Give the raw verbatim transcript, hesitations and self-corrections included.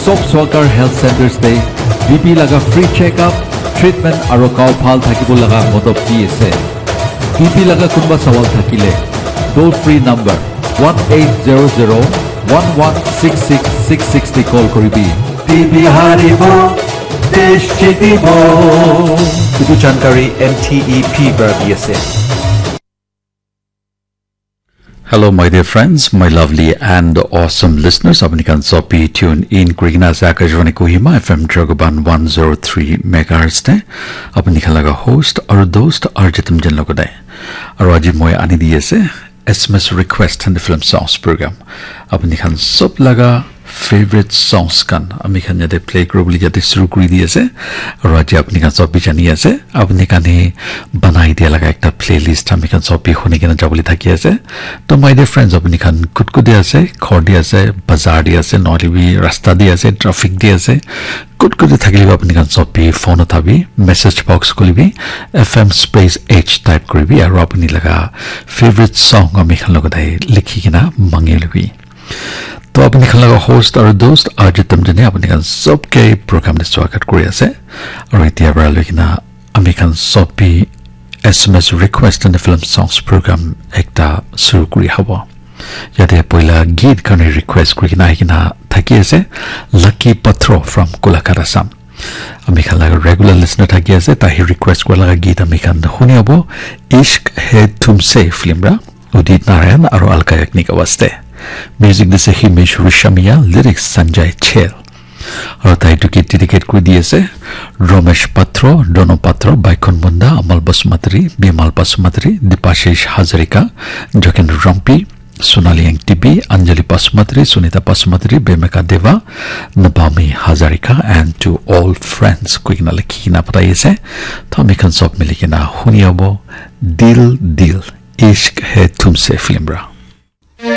Top Swakar Health Centers te B P laga free check-up, treatment aru gao bhal thakibo laga modop di ase. B P laga kunba sawal thakile, toll free number one eight zero zero one one six six six six te call koribi. B P haribo, desh jitibo. Etu jankari M T E P para di ase. Hello, my dear friends, my lovely and awesome listeners. Apni khan sob bi tune in kurikena ase Akashvani Kohima F M Dragoban one zero three megahertz te. Apni khan laga host aru dost R J Temjen logote. Aru aji moi ani di ase S M S request and film songs program. Apni khan sob laga favorite songs khan ami khan yate play kuri bole yate shuru kuri di ase. Aru aji apni khan sob bi jani ase, apni khan he banai dia laga ekta playlist ami khan sob bi huni kena jabole thaki ase. To my dear friends, apni khan kut kut de ase, ghor de ase, bazar de ase, nohole bi rasta de ase, traffic de ase, kut kut de thakile bi apni khan sob bi phone uthabi, message box khulibi, F M space H type kuribi, aru apni laga favorite song ami khan logote likhi kena mangi lobi. To apni khan laga host aru dost R J Temjene apni khan sob ke program te swagat kuri ase. Aru etia para loi kena ami khan sob bi S M S request and film songs program ekta shuru kuri habo. Yate poila geet khan request kuri kena ahi kena thaki ase Lucky Patro from Golaghat, Assam. Ami khan laga regular listener thaki ase, tai request kura laga geet ami khan huni abo Ishq Hai Tumse film ra. Udit Narayan aru Alka Yagnik awaz te. Music dise Himesh Reshammiya, lyrics Sanjay Chhel. Aru tai etu ke dedicate kuri di ase Romesh Patro, Dono Patro, Baikhon Munda, Amal Basumatary, Bimal Basumatary, Dipashish Hazarika, Jogen Rampi, Sonali Engtibi, Anjali Basumatary, Sunita Basumatary, Bemeka Deva, Nabami Hazarika, and to all friends. Koi kena likhi kena patai ase. To ami khan sob mili kena huni abo Dil Dil, Ishq Hai Tumse film ra.